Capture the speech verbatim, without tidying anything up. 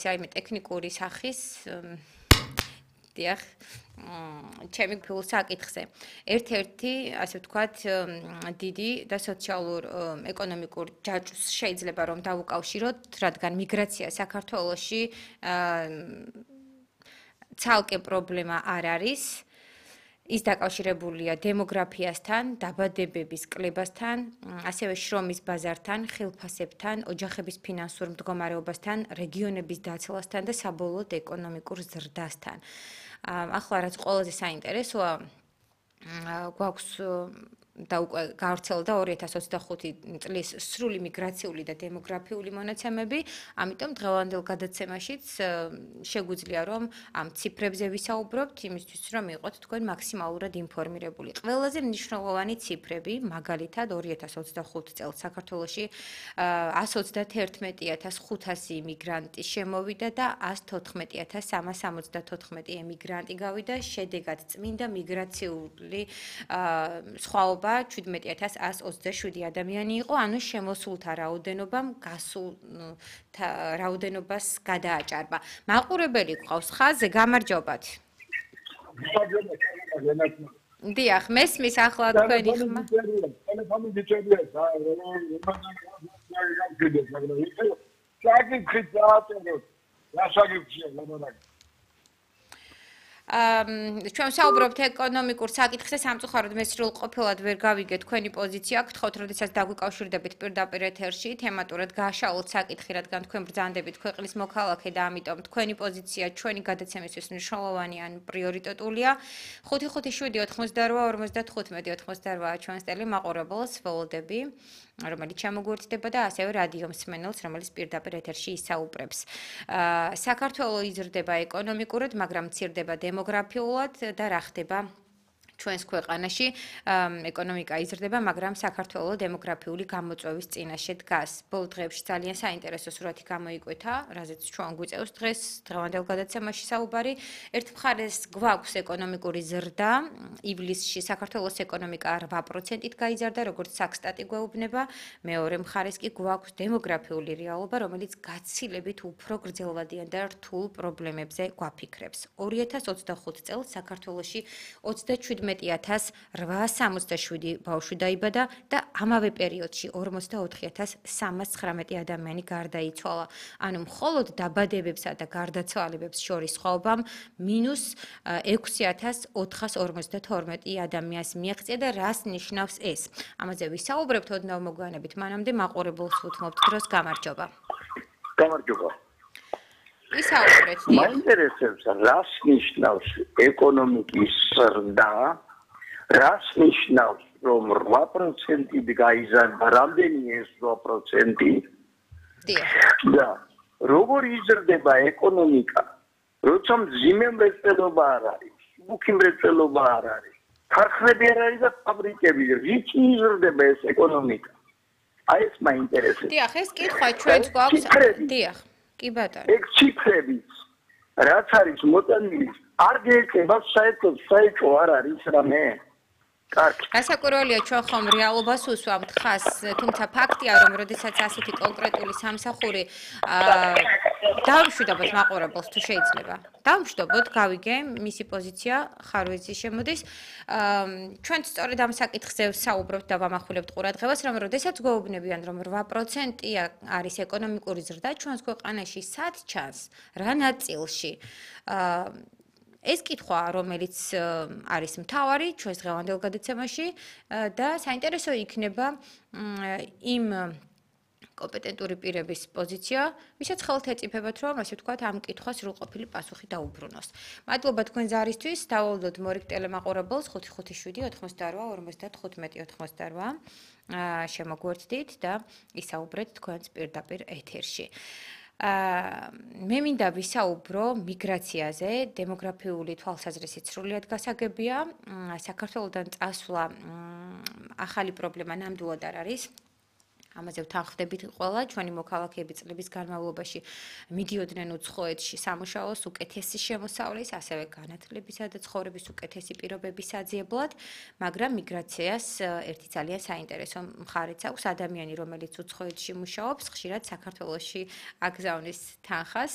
საიმე ტექნიკური სახის დიახ ჩემი ფულ საკითხზე. ერთ-ერთი, ასე ვთქვათ, დიდი და სოციალურ ეკონომიკურ ჯაჭვს შეიძლება რომ დავუკავშიროთ, რადგან მიგრაცია საქართველოში ცალკე პრობლემა არ არის. ის დაკავშირებულია დემოგრაფიასთან, დაბადებების კლებასთან, ასევე შრომის ბაზართან, ხილფასებთან, ოჯახების ფინანსურ მდგომარეობასთან, რეგიონების დაცლასთან და საბოლოოდ ეკონომიკურ ზრდასთან. ახლა რაც ყველაზე საინტერესოა, გვაქვს და უკვე გავრცელდა ორი ათას ოცდახუთი წლის სრული მიგრაციული და დემოგრაფიული მონაცემები, ამიტომ დღევანდელ გადაცემაშიც შეგვიძლია რომ ამ ციფრებზე ვისაუბრობთ, იმისთვის რომ იყოთ თქვენ მაქსიმალურად ინფორმირებული. ყველაზე მნიშვნელოვანი ციფრები, მაგალითად ორი ათას ოცდახუთი წელს საქართველოში ასს ოცდაათი ათას ხუთასი იმიგრანტი შემოვიდა და ასს თოთხმეტი ათას სამას სამოცდათოთხმეტი ემიგრანტი გავიდა, შედეგად წმინდა მიგრაციული სხვაობა შვიდმეტი ათას ასს ოცდაშვიდი ადამიანი იყო, ანუ შემოსულთა რაოდენობამ გასულ რაოდენობას გადააჭარბა. მაყურებელი გყავს ხაზზე, გამარჯობათ. დიახ, მესმის ახლა თქვენი ხმა. ტელეფონი გიჭერია, საკითხი დააწეროთ. რა საკითხია, ლამონაკი? ჩვენ საუბრობთ ეკონომიკურ საკითხზე, სამწუხაროდ მე სრულყოფილად ვერ გავიგე თქვენი პოზიცია, გთხოვთ, როდესაც დაგვიკავშირდებით პირდაპირ ეთერში, თემატურად გააშალოთ საკითხი, რადგან თქვენ ბრძანდებით ქვეყნის მოქალაქე და ამიტომ თქვენი პოზიცია ჩვენი გადაცემისთვის მნიშვნელოვანი ან პრიორიტეტულია. ხუთი ხუთი შვიდი ოთხმოცდარვა ორმოცდათხუთმეტი ოთხმოცდარვა ჩვენს ტელემაყურებელს ველოდები, რომელიც ჩამოგვერთდება და ასევე რადიო მსმენელს, რომელიც პირდაპირ ეთერში ისაუბრებს. საქართველო იზრდება ეკონომიკურად, მაგრამ მცირდება დემოგრაფიულად და რა ხდება ჩვენს ქვეყანაში ეკონომიკა იზრდება, მაგრამ საქართველო დემოგრაფიული გამოწვევის წინაშე დგას. ბოლო დღეებში ძალიან საინტერესო სურათი გამოიკვეთა, რაზეც ჩვენ გვიწევს დღეს დღევანდელ გადაცემაში საუბარი. ერთ მხარეს გვაქვს ეკონომიკური ზრდა, ივლისში საქართველოს ეკონომიკა რვა პროცენტით გაიზარდა, როგორც საქსტატი გვეუბნება, მეორე მხარეს კი გვაქვს დემოგრაფიული რეალობა, რომელიც გაცილებით უფრო გრძელვადიან და რთულ პრობლემებზე გვაფიქრებს. ორი ათას ოცდახუთი წელს საქართველოში ოცდაშვიდმეტი ათას რვაას სამოცდაშვიდი ბავშვი დაიბადა და ამავე პერიოდში ორმოცდაოთხი ათას სამას ცხრამეტი ადამიანი გარდაიცვალა. ანუ მხოლოდ დაბადებებსა და გარდაცვალებებს შორის სხვაობამ მინუს ექვსი ათას ოთხას ორმოცდათორმეტი ადამიანს მიაღწია და რას ნიშნავს ეს? ამაზე ვისაუბრებთ ოდნავ მოგვიანებით, მანამდე მაყურებელს ვუთმობთ დროს, გამარჯობა. გამარჯობა. ისაუბრეთ. მაინტერესებს, რას ნიშნავს ეკონომიკის ზრდა, რას ნიშნავს, რომ რვა პროცენტით გაიზარდა, რამდენი ეს რვა პროცენტი? და როგორ იზრდება ეკონომიკა, როცა მძიმე მრეწველობა არ არის, მუქი მრეწველობა არ არის, ქარხნები არ არის და ფაბრიკები, რით იზრდება ეს ეკონომიკა? აი ეს მაინტერესებს. დიახ, ეს კითხვა ჩვენც გვაქვს. დიახ. კი ბატონო. ეგ ციფრები, რაც არის მოტანილი, არ გეწება საერთოდ საერთო არ არის რამე. კარგი. გასაკვირველია ჩვენ ხომ რეალობას უსვამთ ხას, თუმცა ფაქტია რომ როდესაც ასეთი კონკრეტული სამსახური დავმშვიდობოთ მაყურებელს თუ შეიძლება. დავმშვიდობოთ, გავიგე მისი პოზიცია, ხარვეზი შემოდის. ჩვენ სწორედ ამ საკითხზე საუბრობთ და ვამახვილებთ ყურადღებას, რომ როდესაც გვეუბნებიან რომ რვა პროცენტი არის ეკონომიკური ზრდა ჩვენს ქვეყანაში, სად ჩანს, რა ნაწილში? ეს კითხვა, რომელიც არის მთავარი ჩვენს დღევანდელ გადაცემაში და საინტერესო იქნება იმ კომპეტენტური პირების პოზიცია, ვისაც ხელთ ეწიფებათ, რომ ასე ვთქვათ, ამ კითხვას სრულყოფილი პასუხი დაუბრუნოს. მადლობა თქვენ ზარისთვის, დავულოდოთ მორიგ ტელემაყურებელს ხუთი ხუთი შვიდი ოთხმოცდარვა ორმოცდათხუთმეტი ოთხმოცდარვა შემოგვერთდით და ისაუბრეთ თქვენს პირდაპირ ეთერში. მე მინდა ვისაუბრო მიგრაციაზე, დემოგრაფიული თვალსაზრისით სრულიად გასაგებია. საქართველოდან წასვლა ახალი პრობლემა ნამდვილად არ არის. ამაზე ვთანხმდებით ყველა ჩვენი მოქალაქეები წლების განმავლობაში მიდიოდნენ უცხოეთში სამუშაოს უკეთესი შემოსავლის, ასევე განათლებისა და ცხოვრების უკეთესი პირობების აძიებლად, მაგრამ მიგრაციას ერთი ძალიან საინტერესო მხარეც აქვს. ადამიანი, რომელიც უცხოეთში მუშაობს, ხშირად საქართველოში აგზავნის თანხას,